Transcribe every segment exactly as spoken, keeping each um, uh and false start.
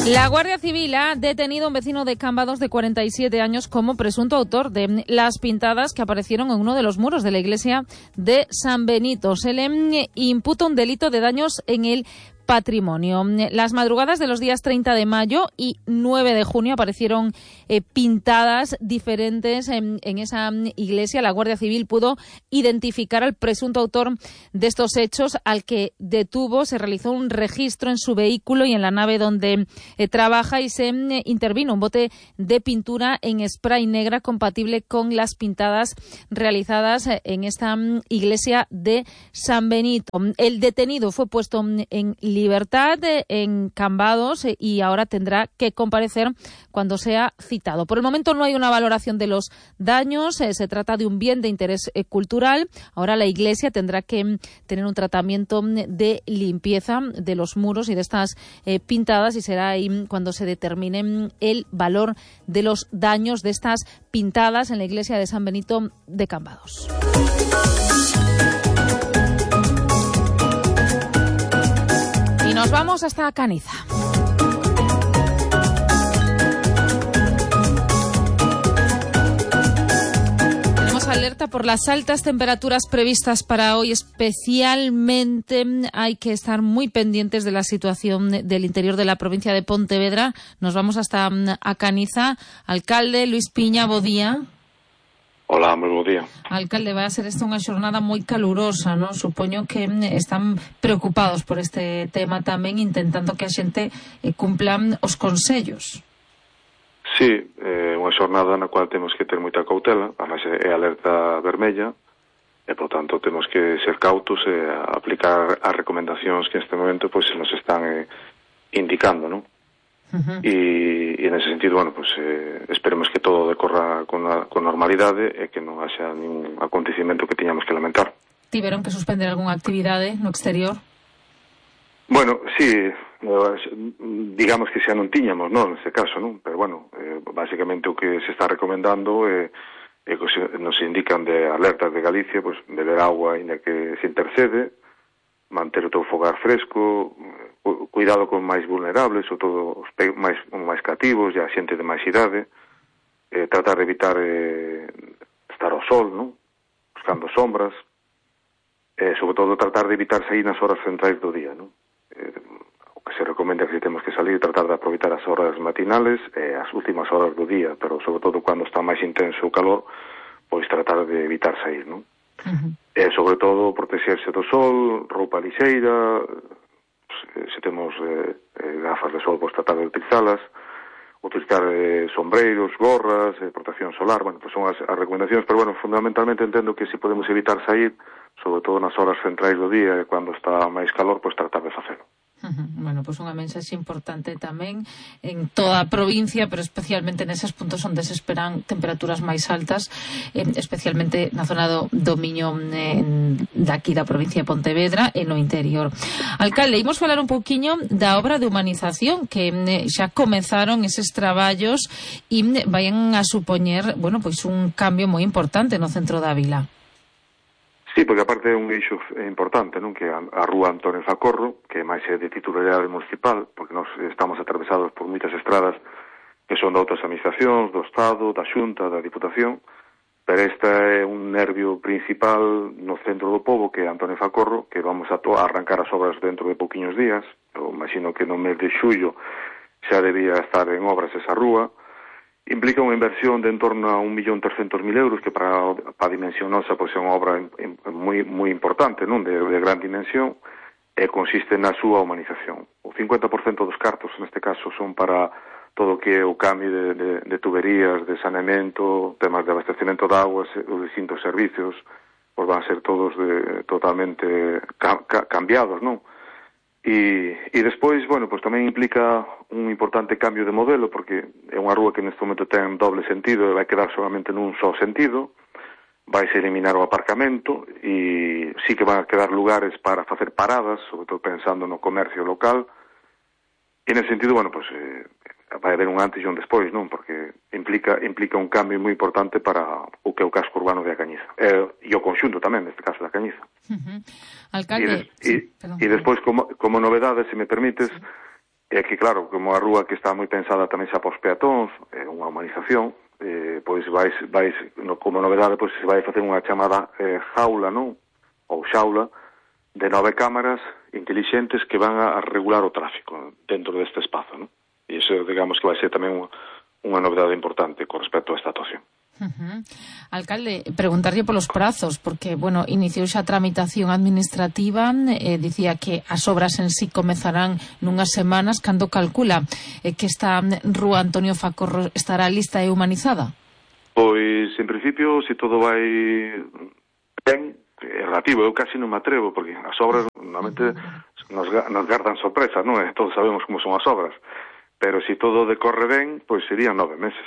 La Guardia Civil ha detenido a un vecino de Cambados de cuarenta y siete años como presunto autor de las pintadas que aparecieron en uno de los muros de la iglesia de San Benito. Se le imputa un delito de daños en el patrimonio. Las madrugadas de los días treinta de mayo y nueve de junio aparecieron eh, pintadas diferentes en, en esa iglesia. La Guardia Civil pudo identificar al presunto autor de estos hechos, al que detuvo. Se realizó un registro en su vehículo y en la nave donde eh, trabaja y se eh, intervino un bote de pintura en spray negra compatible con las pintadas realizadas eh, en esta mm, iglesia de San Benito. El detenido fue puesto en libertad en Cambados y ahora tendrá que comparecer cuando sea citado. Por el momento no hay una valoración de los daños, eh, se trata de un bien de interés eh, cultural. Ahora la Iglesia tendrá que tener un tratamiento de limpieza de los muros y de estas eh, pintadas, y será ahí cuando se determine el valor de los daños de estas pintadas en la Iglesia de San Benito de Cambados. Nos vamos hasta Caniza. Tenemos alerta por las altas temperaturas previstas para hoy. Especialmente hay que estar muy pendientes de la situación del interior de la provincia de Pontevedra. Nos vamos hasta a Caniza. Alcalde Luis Piña, bo día. Hola, moi bo día. Alcalde, vai a ser esta unha xornada moi calurosa, non? Supoño que están preocupados por este tema tamén, intentando que a xente cumplan os consellos. Sí, é unha xornada na cual temos que ter moita cautela, además é alerta vermella, e, por tanto, temos que ser cautos e aplicar as recomendacións que neste momento pois, se nos están eh, indicando, non? Uh-huh. E, e nese sentido, bueno, pues, eh, esperemos que todo decorra con, a, con normalidade e que non haxa ningún acontecimento que tiñamos que lamentar. Tiveron que suspender algunha actividade no exterior? Bueno, sí, digamos que xa non tiñamos, non, neste caso, non? Pero, bueno, eh, basicamente o que se está recomendando é eh, eh, que nos indican de alertas de Galicia, pues, beber agua ainda que se intercede, manter o teu fogar fresco, cuidado con máis vulnerables, ou todo os máis, máis cativos e a xente de máis idade, eh, tratar de evitar eh, estar ao sol, non? Buscando sombras, e eh, sobre todo tratar de evitar sair nas horas centrais do día, non? Eh, o que se recomenda que se temos que salir, tratar de aproveitar as horas matinales e as últimas horas do día, pero sobre todo cando está máis intenso o calor, pois tratar de evitar sair, non? Uh-huh. E sobre todo protexerse do sol, roupa lixeira, se temos eh, eh, gafas de sol, pois tratar de utilizalas, utilizar eh, sombreiros, gorras, eh, protección solar, bueno, pues son as, as recomendacións, pero bueno, fundamentalmente entendo que se podemos evitar sair, sobre todo nas horas centrais do día e cando está máis calor, pois tratar de facelo. Uh-huh. Bueno, pois pues unha mensaxe importante tamén en toda a provincia, pero especialmente neses puntos onde se esperan temperaturas máis altas, eh, especialmente na zona do, do Miño eh, daqui da provincia de Pontevedra e no interior. Alcalde, imos falar un pouquiño da obra de humanización que eh, xa comenzaron eses traballos e eh, vayan a supoñer, bueno, pois un cambio moi importante no centro da vila. Sí, porque aparte é un eixo importante, non? Que a, a rúa Antonio Facorro, que máis é de titularidade municipal, porque nós estamos atravesados por moitas estradas que son de outras administracións, do Estado, da Xunta, da Diputación, pero esta é un nervio principal no centro do pobo, que é Antonio Facorro, que vamos a, to- a arrancar as obras dentro de pouquiños días. Eu imagino que no mes de xullo xa debía estar en obras esa rúa. Implica unha inversión de en torno a un millón trescentos mil euros, que para, para a dimensión nosa pois, é unha obra moi, moi importante, non? De, de gran dimensión, e consiste na súa humanización. O cincuenta por cento dos cartos, neste caso, son para todo o que é o cambio de, de, de tuberías, de saneamento, temas de abastecimento de aguas, os distintos servicios, pois van a ser todos de, totalmente ca, ca, cambiados, non? E, e despois, bueno, pues tamén implica un importante cambio de modelo, porque é unha rúa que neste momento ten doble sentido e vai quedar solamente nun só sentido. Vai se eliminar o aparcamento e sí que van a quedar lugares para facer paradas, sobre todo pensando no comercio local. E nese sentido, bueno, pues eh, vai haber un antes e un despois, non? Porque implica implica un cambio moi importante para o que é o casco urbano de A Cañiza. E, e o conxunto tamén, neste caso, da Cañiza. Uh-huh. Alcalde... E, des, sí, e, e despois, como, como novedade, se me permites, é que, claro, como a rúa que está moi pensada tamén xa pos peatóns, é unha humanización, eh, pois vais, vais no, como novedade, pois se vai facer unha chamada eh, jaula, non? Ou xaula, de nove cámaras intelixentes que van a regular o tráfico dentro deste espazo, non? E iso, digamos, que vai ser tamén unha, unha novedade importante con respecto a esta actuación. Uh-huh. Alcalde, preguntarlle polos prazos, porque, bueno, iniciou xa a tramitación administrativa, eh, dicía que as obras en sí comezarán nunhas semanas. Cando calcula eh, que esta rúa Antonio Facorro estará lista e humanizada? Pois, en principio, se todo vai ben, é relativo, eu casi non me atrevo, porque as obras normalmente nos, nos gardan sorpresas, non? Todos sabemos como son as obras, pero se todo decorre ben, pois serían nove meses.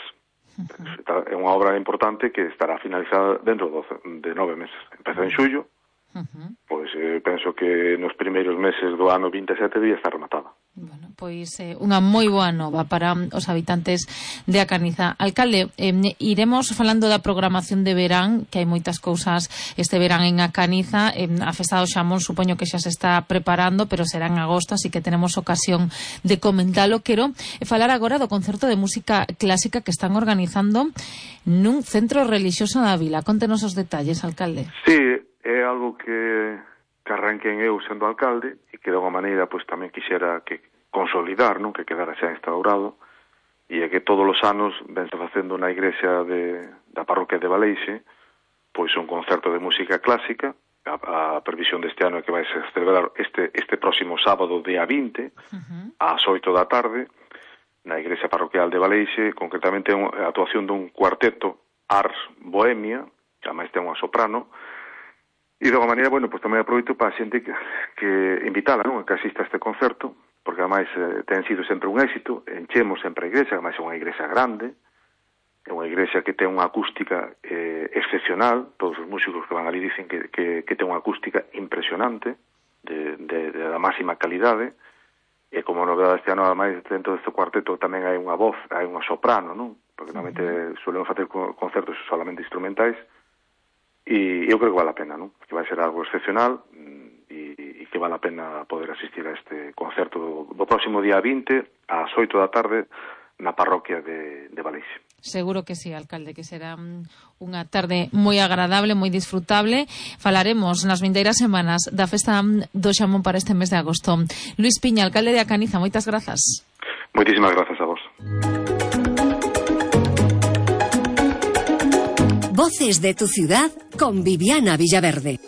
Uh-huh. É unha obra importante que estará finalizada dentro de nove meses. Empeza en xullo, uh-huh. pois eh, penso que nos primeiros meses do ano vinte e sete día está rematada. Bueno, pois eh, unha moi boa nova para os habitantes de A Caniza. Alcalde, eh, iremos falando da programación de verán, que hai moitas cousas este verán en A Caniza. Eh, a Festa do Xamón supoño que xa se está preparando, pero será en agosto, así que tenemos ocasión de comentalo. Quero falar agora do concerto de música clásica que están organizando nun centro relixioso da vila. Contenos os detalles, alcalde. Sí, é algo que... que arranquen eu sendo alcalde e que de alguma maneira pois tamén quixera que consolidar, non, que quedara xa instaurado, e é que todos os anos vense facendo na igrexa de, da parroquia de Baleixe pois un concerto de música clásica. A, a previsión deste ano é que vai se celebrar este, este próximo sábado día vinte, uh-huh. ás oito da tarde na igrexa parroquial de Baleixe, concretamente a actuación dun cuarteto Ars Bohemia, que ademais ten unha soprano. E de alguma maneira, bueno, pues tamén aproveito para a xente que, que invitala, non, a que asista a este concerto, porque ademais eh, ten sido sempre un éxito, enchemos sempre a igrexa, ademais é unha igrexa grande, é unha igrexa que ten unha acústica eh, excepcional, todos os músicos que van ali dicen que, que, que ten unha acústica impresionante, de, de, de da máxima calidade, e como novedade este ano, ademais, dentro deste cuarteto tamén hai unha voz, hai unha soprano, non? Porque normalmente solemos facer concertos solamente instrumentais, e eu creo que vale a pena, non? Que vai ser algo excepcional e, e que vale a pena poder asistir a este concerto do, do próximo día vinte ás oito da tarde na parroquia de, de Baleixe. Seguro que sí, alcalde, que será unha tarde moi agradable, moi disfrutable. Falaremos nas vindeiras semanas da Festa do Xamón para este mes de agosto. Luís Piña, alcalde de A Caniza, moitas grazas. Moitísimas grazas a vos. Voces de tu ciudad con Viviana Villaverde.